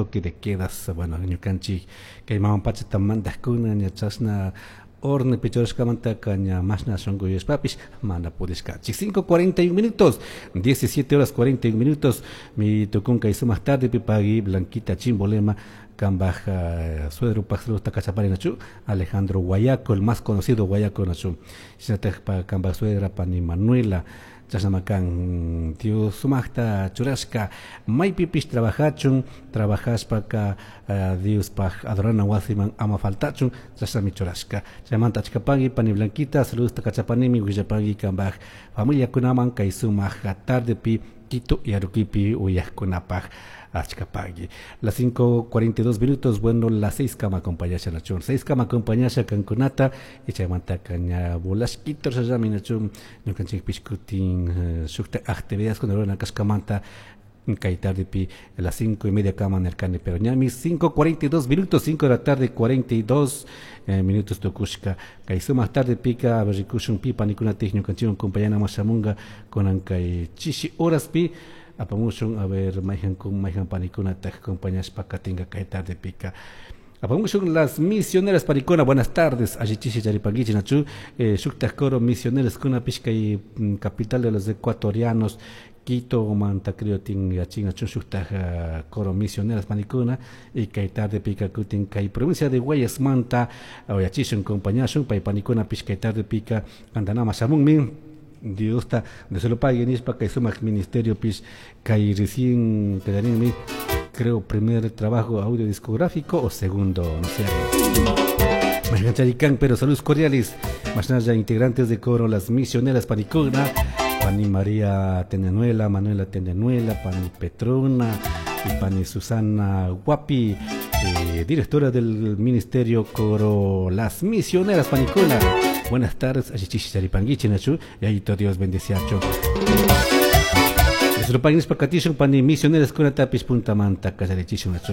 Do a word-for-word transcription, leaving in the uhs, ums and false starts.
Toque de quedas, bueno, ñukanchik kay mama pachata mandajkuna ña chashna orden pichurashkamantaka ña mashna shunku yuyashpapish mana pudishkanchik. cinco cuarenta y un minutos, diecisiete horas cuarenta y un minutos, mi tukunka y sumaq tarde pipagui Blanquita Chimbolema, kambaj uh, suegro paj saludosta kachapari nachu, Alejandro Guayaco, el más conocido Guayaco nachu, shinataj pa kambaj suegra pani Manuela. Chashnamakan Dios sumaqta churashka maypipish trabajachun, trabajashpaka uh, Diospaj adorana wasiman ama faltachun, chashnami churashka. Chaymanta achkapagui pani Blanquita, saludosta kachapanimi, willapagui kambaj familiakunaman kay sumaq tardepi Quito y Aruquipi uyajkunapaj. Achkapagui. Las cinco cuarenta y dos minutos, bueno, las seis kama acompañasha nachun, seis kama acompañasha kankunata y chaymanta ña volashquito shallami nachun ñukanchikpish kutin eh, shukta actividades kuna rurana kashkamanta kay tardepi a las cinco y media kama nirkani, pero ñami cinco cuarenta y dos minutos, cinco de la tarde cuarenta y dos eh, minutos tukushka. Kay sumaq tarde pika rikushun pi panikunatik ñukanchikwan compañanaman shamunga kunan kay chishi horaspi. Apamushun a ver mayjan kun mayjan panikunataj acompañashpa katinga kay tarde pika. Apamushun las misioneras panikuna, buenas tardes, allichishi charipanguichi nachu, eh, shuktaj coro misioneras kunapish kay mm, capital de los ecuatorianos Quito manta creo tin yachin nachu shuktaj uh, coro misioneras panikuna y kay tarde pika kutin kay provincia de Guayas manta yachishun compañashun pay panikuna pish kay tarde pika antanama shamunmi. Diosta de se lo pague nishpa kay sumak ministerio pish kay recién quedarín, creo, primer trabajo audio discográfico o segundo, no sé. Charicán, pero saludos cordiales. Más ya integrantes de coro Las Misioneras Panicuna, Pani María Tenenuela, Manuela Tenenuela, Pani Petrona y Pani Susana Guapi, eh, directora del Ministerio Coro Las Misioneras Panicuna. Buenas tardes, allichishi charipanguichi nachu, y ahí todo Dios bendeciacho. Pani misioneras kunatapis puntamanta kallarichishun nachu.